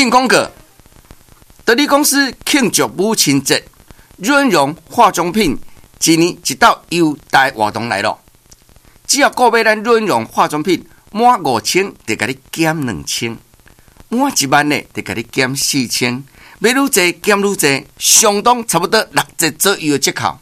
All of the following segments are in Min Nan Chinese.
進廣告，得利公司慶祝母親節，潤容化妝品一年一度優待活動來咯。只要購買咱潤容化妝品滿5000，就共你減2000；滿1萬的，就共你減4000。買愈濟減愈濟，相當差不多6折左右的折扣。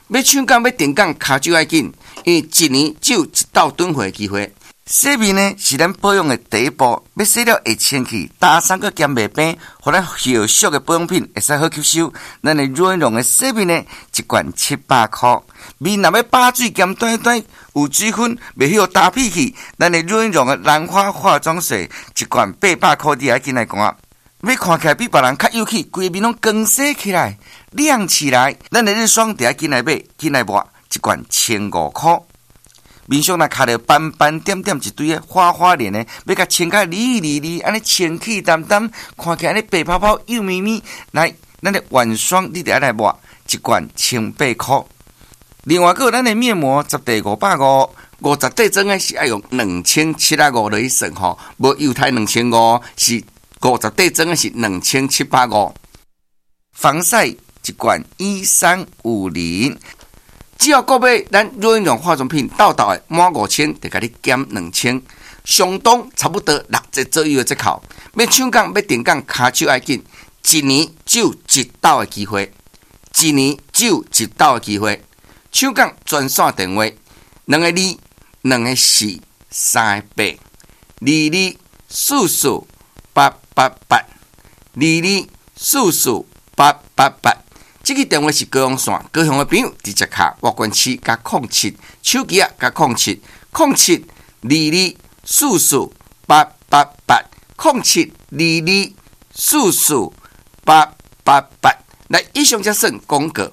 欲搶購欲訂購，跤手愛緊，因為一年只有一道轉貨的機會。洗面呢是咱保養的第一步，欲洗了會清氣，焦酸閣兼袂平，予咱後續的保養品會使好吸收。咱的潤容的洗面呢，一罐700箍。面若欲飽水兼彈彈，有水分，袂予焦皮去。咱的潤容的蘭花化妝水一罐800箍，你愛緊來看。欲看起來比別人較有氣，規个面攏光洗起來，亮起來。咱的日霜就愛緊來買，緊來抹，一罐1500箍。面上若卡著斑斑點點一堆的花花臉的，欲共清甲利利利，按呢清氣澹澹，看起來按呢白泡泡幼咪咪。來，咱的晚霜你著愛來抹，一罐1800箍。另外，閣有咱的面膜十袋550，50袋裝的是愛用2750落去算吼，無猶太2500，是50袋裝的是2750。防曬一罐1350。只要購買咱潤容化妝品，到到的滿五千，就共你減兩千，相當差不多6折左右的折扣。欲搶購欲訂購，跤手愛緊，一年只有一道的機會，一年只有一道的機會。搶購專線電話：2個2，2個4，3個8，2244888，2244888。這个電話是高雄線，高雄的朋友直接敲外縣市加07，手機仔加空七，0722 44888，0722 44888。來，以上才算廣告。